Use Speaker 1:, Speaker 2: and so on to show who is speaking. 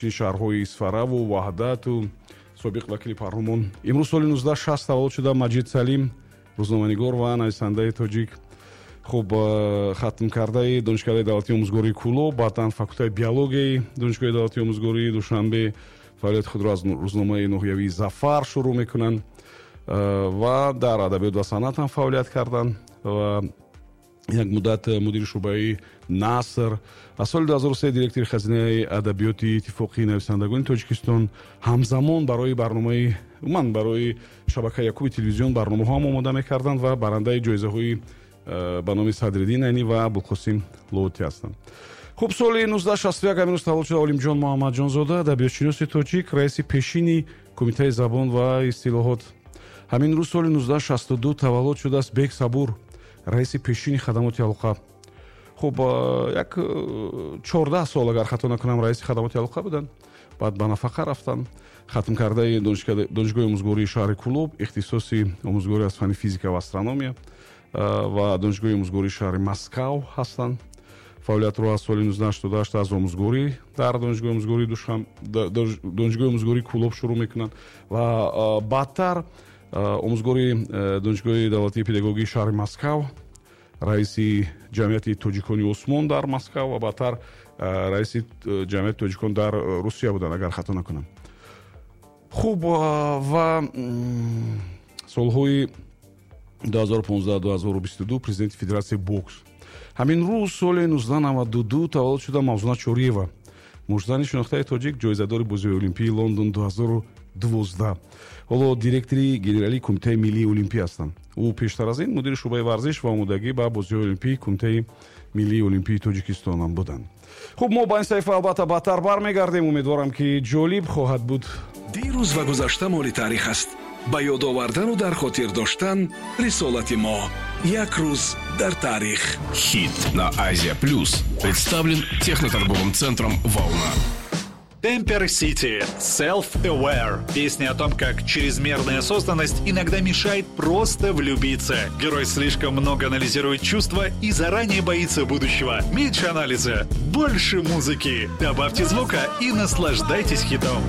Speaker 1: Шаҳрҳои Исфараву Ваҳдату собиқ вакили парлумон. Имрӯз соли 1960 таваллуд шуда Маҷид Салим, рӯзноманигор ва нависандаи тоҷик. Хуб, хатмкардаи Донишкадаи давлатии омӯзгории Кӯлоб, баъдан факултаи биологияи Донишгоҳи давлатии омӯзгории Душанбе. Фаъолияти худро аз рӯзномаи ноҳиявии «Зафар» шурӯъ мекунанд ва дар адабиёт ва санъат ҳам фаъолият карданд ва як муддат мудири шӯъбаи наср, аз соли 2003 директори хазинаи адабиёти Иттифоқи нависандагони Тоҷикистон. Ҳамзамон барои барномаи, умуман барои шабакаи якуми телевизион барномаҳо ҳам омода мекарданд ва барандаи ҷоизаҳои ба номи Садриддин Айнӣ ва Абулқосим Лоҳутӣ ҳастанд. Хуб, соли 1961 ҳамин рӯз таваллуд шуда Олимҷон Муҳаммадҷонзода, адабиётшиноси тоҷик, раиси пешини Кумитаи забон ва истилоҳот. Ҳамин рӯз соли 1962 таваллуд шудааст Бек Сабур, раиси пешини хадамоти алоқа. Хуб, як 14 сол, агар хато накунам, раиси хадамоти алоқа буданд, баъд ба нафақа рафтанд. Хатмкардаи Донишгоҳи омӯзгории шаҳри Кӯлоб, ихтисоси омӯзгорӣ аз фанни физика ва астрономия, ва Донишгоҳи омӯзгории шаҳри Москав ҳастанд. Фаъолиятро аз соли 1988 аз омӯзгорӣ дар Донишгоҳи омӯзгории Кӯлоб шурӯъ мекунанд ва баъдтар омӯзгори Донишгоҳи давлатии педагогии шаҳри Москав, раиси Ҷамъияти тоҷикони Усмон дар Москав ва баъдтар раиси Ҷамъияти тоҷикон дар Русия буданд, агар хато накунам. Хуб, ва солҳои 2015-2022 президенти Федератсияи бокс. Ҳамин рӯз соли 1992 таваллуд шуда Мавзуна Чориева, муштзани шинохтаи тоҷик, ҷоизадори Бозиҳои Олимпии Лондон 2012, ҳоло директори генералии Кумитаи миллии олимпӣ ҳастанд. Ӯ пештар аз ин мудири шӯъбаи варзиш ва омодагӣ ба Бозиҳои Олимпии Кумитаи миллии олимпии Тоҷикистон ҳам буданд. Хуб, мо ба ин саҳифа албатта баъдтар бармегардем. Умедворам, ки ҷолиб хоҳад буд.
Speaker 2: Дирӯз ва гузашта моли таърих аст. Ба ёд овардану дар хотир доштан рисолати мо. Як рӯз дар таърих.
Speaker 3: Хит на Азия Плюс представлен техноторговым центром «Волна».
Speaker 4: Темпер Сити Self-Aware. Песня о том, как чрезмерная осознанность иногда мешает просто влюбиться. Герой слишком много анализирует чувства и заранее боится будущего. Меньше анализа, больше музыки. Добавьте звука и наслаждайтесь хитом.